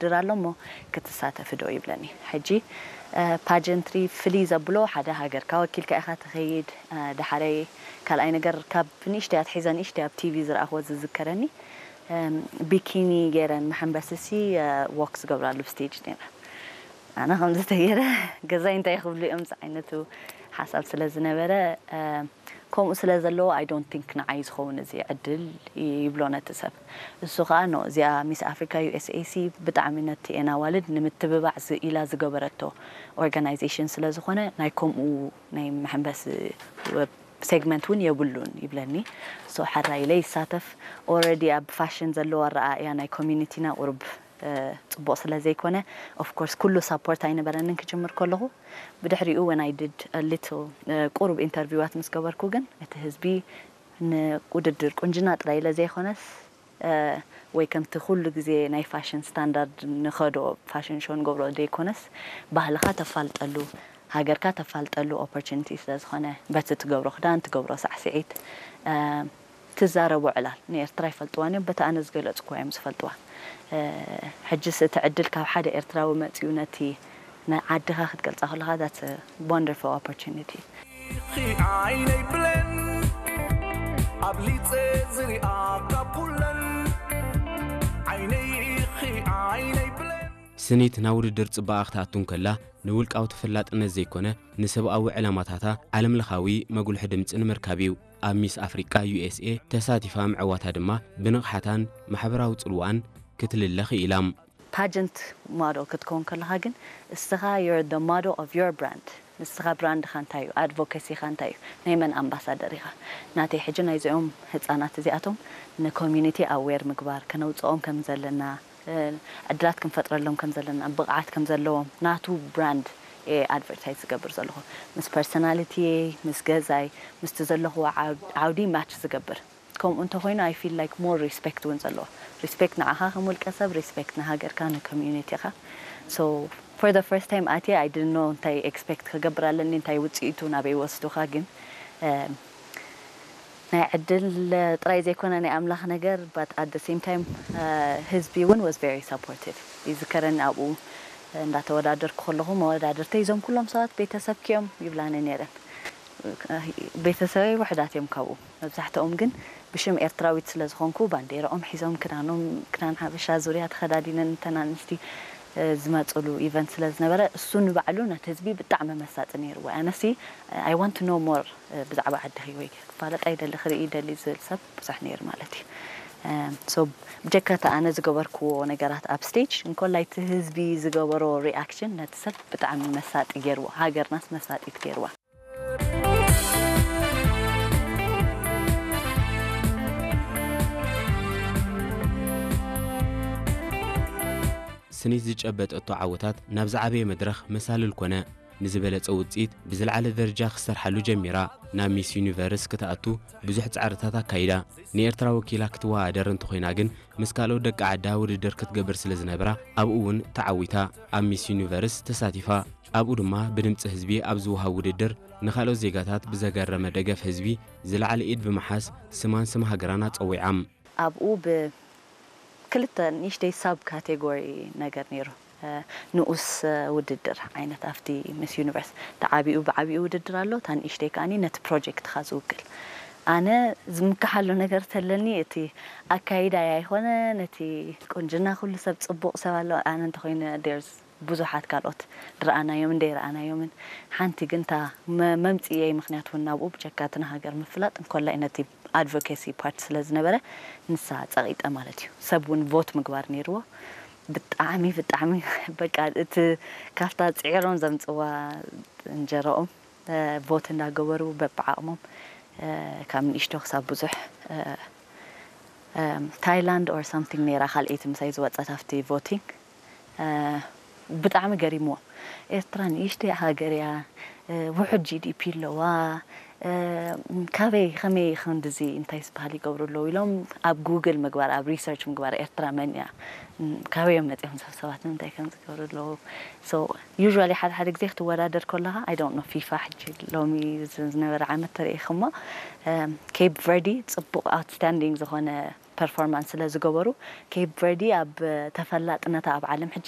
ውድድር ኣሎ እሞ ክትሳተፊ ዶ ይብለኒ። ሕጂ ፓጀንትሪ ፍልይ ዘብሎ ሓደ ሃገርካ ወኪልካ ኢኻ ትኸይድ። ዳሓረይ ካልኣይ ነገር ካብ ንእሽተይ ኣትሒዘ ንእሽተይ ኣብ ቲቪ ዝረኣኽዎ ዝዝከረኒ ቢኪኒ ገይረን መሐንበስሲ ዎክ ዝገብራሉ ስቴጅ ነይረ። ኣነ ከምዚ ተገይረ ገዛይ እንታይ ክብሉ እዮም ዝዓይነቱ ሓሳብ ስለ ዝነበረ ከምኡ ስለ ዘለዎ I don't think ንዓይ ዝኸውን እዚ ዕድል ይብሎ ነቲ ሰብ። እሱ ከዓ ኖ እዚኣ ሚስ ኣፍሪካ ዩ ኤስ ኤ ሲ ብጣዕሚ ነቲ ኤን ኣዋልድ ንምትብባዕ ኢላ ዝገበረቶ ኦርጋናይዜሽን ስለ ዝኾነ ናይ ከምኡ ናይ መሐንበሲ ሴግመንት እውን የብሉን ይብለኒ። ሶ ሕራይ ኢለ ይሳተፍ። ኦረዲ ኣብ ፋሽን ዘለዎ ኣረኣእያ ናይ ኮሚኒቲና ቁሩብ ፅቡቕ ስለ ዘይኮነ ኦፍኮርስ ኩሉ ሳፖርት ኣይነበረንን ክጅምር ከለኹ። ብድሕሪኡ ወን ኣይ ድድ ሊትል ቁሩብ ኢንተርቪዋት ምስ ገበርኩ ግን እቲ ህዝቢ ንውድድር ቁንጅና ጥራይ ኢለ ዘይኮነስ ወይ ከምቲ ኩሉ ግዜ ናይ ፋሽን ስታንዳርድ ንኸዶ ፋሽን ሾ ንገብሮ ዘይኮነስ ባህልኻ ተፋልጠሉ ሃገርካ ተፋልጠሉ ኦፖርቹኒቲ ስለ ዝኾነ በቲ ትገብሮ ክዳን ትገብሮ ሳዕስዒት ትዛረቦ ዕላል ንኤርትራ ይፈልጥዋን እዮም በቲ ኣነ ዝገለፅኩዋ እዮም ዝፈልጥዋ። ሕጅስ እቲ ዕድል ካብ ሓደ ኤርትራዊ መፅኡ ነቲ ንዓድኻ ክትገልፃ ከለኻ that's a wonderful opportunity። ዓይነይ ብለን ኣብሊፀ ዝሪኣ ካብ ኩለን ዓይነይ ዓይነይ ብለን ስኒት ናብ ውድድር ጽባቐ ክትኣቱ እንከላ ንውልቃዊ ተፈላጥነት ዘይኮነ ንሰብኣዊ ዕላማታታ ዓለምለኻዊ መጉልሒ ድምጺ ንምርካብ እዩ። ኣብ ሚስ ኣፍሪቃ ዩ ኤስ ኤ ተሳቲፋ ምዕዋታ ድማ ብንቕሓታን ማሕበራዊ ጽልዋኣን ክትልለ ክኢላ። ፓጀንት ማዶ ክትከውን ከለኻ ግን እስኻ you're the model of your brand ንስኻ ብራንድኻ እንታይ እዩ ኣድቮኬሲኻ እንታይ እዩ ናይ መን ኣምባሳደር ኢኻ ናተይ ሕጂ ናይዚኦም ህፃናት እዚኣቶም ንኮሚኒቲ ኣዌር ምግባር ከነውፅኦም ከም ዘለና ዕድላት ክንፈጥረሎም ከም ዘለና ብቕዓት ከም ዘለዎም ናቱ ብራንድ ኣድቨርታይዝ ዝገብር ዘለኹ ምስ ፐርሶናሊቲ ምስ ገዛይ ምስቲ ዘለኹዎ ዓውዲ ማች ዝገብር ከምኡ እንተኮይኑ I feel like more respect እውን ዘለዎ respect ንዓኻ ከም ውልቀ ሰብ respect ንሃገርካ ንኮሚዩኒቲኻ so for the first time ኣትየ I didn't know እንታይ expect ክገብር ኣለኒ እንታይ ውፅኢቱ ናበይ ወስዱኻ ግን ናይ ዕድል ጥራይ ዘይኮነ ናይ ኣምላኽ ነገር but at the same time ህዝቢ እውን was very supportive ይዝከረኒ ኣብኡ እንዳተወዳደርኩ ከለኹ መወዳድርተይ እዞም ኩሎም ሰባት ቤተሰብኪ እዮም ይብላኒ ነይረን ቤተሰበይ ውሕዳት እዮም ካብኡ መብዛሕትኦም ግን ብሽም ኤርትራዊት ስለ ዝኾንኩ ባንዴራኦም ሒዞም ክዳኖም ክዳን ሓበሻ ዙርያ ተኸዳዲነን እተን ኣንስቲ ዝመፅሉ ኢቨንት ስለ ዝነበረ እሱ ንባዕሉ ነቲ ህዝቢ ብጣዕሚ መሳጢ ነይርዎ ኣነሲ I want to know more ብዛዕባ ዓድኺ ወይ ክፋለጥ ኣይደሊ ክርኢ ይደሊ ዝብል ሰብ ብዙሕ ነይሩ ማለት እዩ so ብጀካ እቲ ኣነ ዝገበርክዎ ነገራት ኣብ ስቴጅ እንኮላይ እቲ ህዝቢ ዝገበሮ ሪኣክሽን ነቲ ሰብ ብጣዕሚ መሳጢ ገይርዎ ሃገርናስ መሳጢት ገይርዋ ስኒት ዝጨበጠቶ ዓወታት ናብ ዝዓበየ መድረኽ መሳልል ኮነ። ንዝበለጸ ውጽኢት ብዝለዓለ ደረጃ ክትሰርሓሉ ጀሚራ። ናብ ሚስ ዩኒቨርስ ክትኣቱ ብዙሕ ጻዕርታት ኣካይዳ። ንኤርትራ ወኪላ ክትወዳደር እንተኾይና ግን ምስ ካልኦት ደቂ ዓዳ ውድድር ክትገብር ስለ ዝነብራ ኣብኡ እውን ተዓዊታ ኣብ ሚስ ዩኒቨርስ ተሳቲፋ። ኣብኡ ድማ ብድምጺ ህዝቢ ኣብ ዝወሃብ ውድድር ንኻልኦት ዜጋታት ብዘገረመ ደገፍ ህዝቢ ዝለዓለ ኢድ ብምሓዝ ስማን ስም ሃገራን ኣጸዊዓም። ኣብኡ ብ ክልተ ንእሽተይ ሳብ ካቴጎሪ ነገር ነይሩ ንኡስ ውድድር ዓይነት ኣብቲ ምስ ዩኒቨርስ ተዓቢኡ ብዓቢኡ ውድድር ኣሎ እታ ንእሽተይ ከዓኒ ነቲ ፕሮጀክትኻ ዝውክል ኣነ ዝምክሓሉ ነገር ተለኒ እቲ ኣካይዳይ ኣይኮነ ነቲ ቁንጅና ኩሉ ሰብ ፅቡቕ ሰብ ኣሎ ኣነ እንተኮይነ ዴርስ ብዙሓት ካልኦት ድረኣናዮም እንደ ይረኣናዮምን ሓንቲ ግን እታ መምፅእየይ ምክንያት እውን ናብኡ ብጀካ እቲ ንሃገር ምፍላጥ እንኮላይ ነቲ ኣድቮኬሲ ፓርት ስለ ዝነበረ ንሳ ፀቒጠ ማለት እዩ ሰብ እውን ቮት ምግባር ነይርዎ ብጣዕሚ ብጣዕሚ በቃ እቲ ካብታ ፅዒሮም ዘምፅዋ እንጀረኦም ቮት እንዳገበሩ በብዓቕሞም ካብ ንእሽቶ ክሳብ ብዙሕ ታይላንድ or something ነይራ ካልኣይቲ ምሳይ ዝወፀት ኣብቲ ቮቲንግ ብጣዕሚ ገሪምዎም ኤርትራ ንእሽተይ ሃገር እያ ውሑድ ጂ ዲ ፒ ኣለዋ ካበይ ከመይ ክንድዚ እንታይ ዝበሃል ይገብሩ ኣለዉ ኢሎም ኣብ ጉግል ምግባር ኣብ ሪሰርች ምግባር ኤርትራ መን እያ ካበይ እዮም መፂኦም ሰብ ሰባት ንምንታይ ከም ዝገብሩ ኣለዉ so usually ሓደ ሓደ ግዜ ክትወዳደር ከለኻ I don't know ፊፋ ሕጂ ሎሚ ዝነበረ ዓመት ተርእይኽሞ ኬፕ ቨርዲ ፅቡቕ ኣውትስታንዲንግ ዝኾነ ፐርፎርማንስ ስለ ዝገበሩ፣ ኬፕ ቨርዲ ኣብ ተፈላጥነታ ኣብ ዓለም ሕጂ